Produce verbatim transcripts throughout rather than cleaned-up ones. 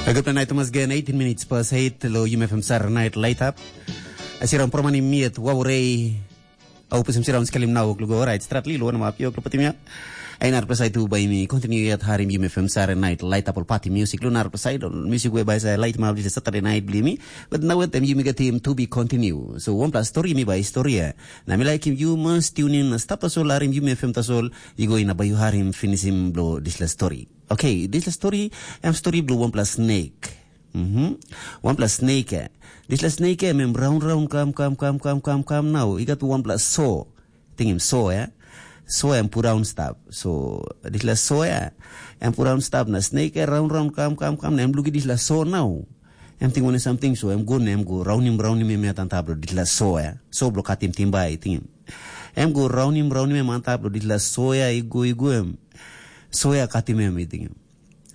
Good night, Thomas. Gen eighteen minutes past eight, lo U M F M Saturday Night Light Up. Asira promani miet waurei. Au pusum sira unskelim nau oklugo, right, strat lilo na mapio klopatimia. Ai nar pesai tu bai mi continue yet harim U M F M Saturday Night Light Up all party music. Lo nar pesai don music we bai sa light ma bli Saturday night bli mi. But now with them you get him to be continue. So one plus story mi bai story. Na mi like him, you must tune in na stap tasol harim U M F M tasol. You go in na bai you harim finish him blo disla story. Okay, disla story, em story blo one plus snake. Mhm. One plus snake, eh. Disla snake, eh, em raun raun kam kam kam kam kam kam nau. I gat one plus so. Tingim so, eh. So em puraun stap. So, disla so, eh. Em puraun stap na snake, eh, raun raun kam kam kam na em luki disla so nau. Em ting wanem samting so em go na em go raunim raunim em yet antap lo disla so, eh. So blo katim timba, i tingim. Em go raunim raunim em antap lo disla so, eh, i go i go em. So, eh, katim em, i tingim.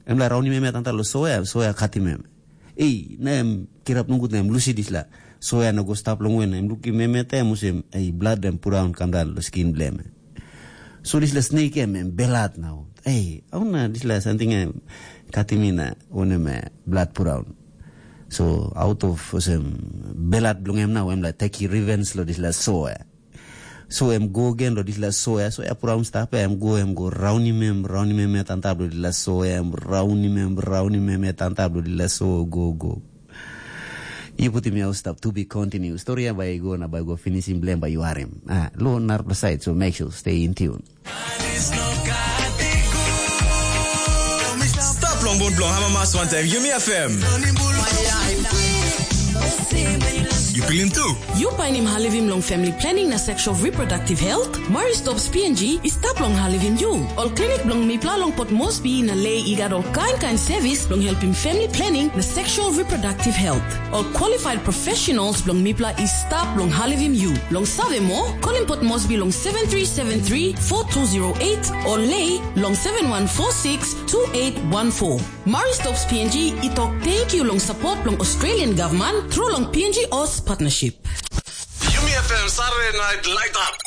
Em la raunim em yet antap lo so, eh, so, eh, katim em. Ei, na em kirap nogut na em lusi disla. So, eh, na go stap long wen em lukim em yet em usim, ei, blad em puraun kam dan lo skin blo em. So disla snake em em belat nau. Ei, au na disla samting em katim mi na wanem, eh, blad puraun. So out of olsem belat bilong em nau em la teki revenge lo disla so, eh. So em go gen lo disla so, eh, so, eh, puraun stap, eh, em go em go raunim em raunim em yet antap lo disla so, eh, em raunim em raunim em yet antap lo disla so go go. Yu putim yu stap to be continue. Story ya bai go na bai go finishim blem bai yu harim. Ah, lo narpela side, so make sure stay in tune. Stap long bun bilong Hamamas wantaim Yumi F M. Yu pilim tu. Yu painim halivim long family planning na sexual reproductive health? Maris Dobbs P N G i stap long halivim yu. Ol klinik bilong mipela long Port Moresby na Lei i gat ol kain kain sevis bilong helpim family planning na sexual reproductive health. Ol qualified professionals bilong mipela i stap long halivim yu. Long save moa, kolim Port Moresby long seven three seven three four two zero eight o Lei long seven one four six two eight one four. Maris Dobbs P N G i tok tenkyu long sapot bilong Australian Government tru long P N G Oz Partnership. Yumi F M Saturday Night Light Up.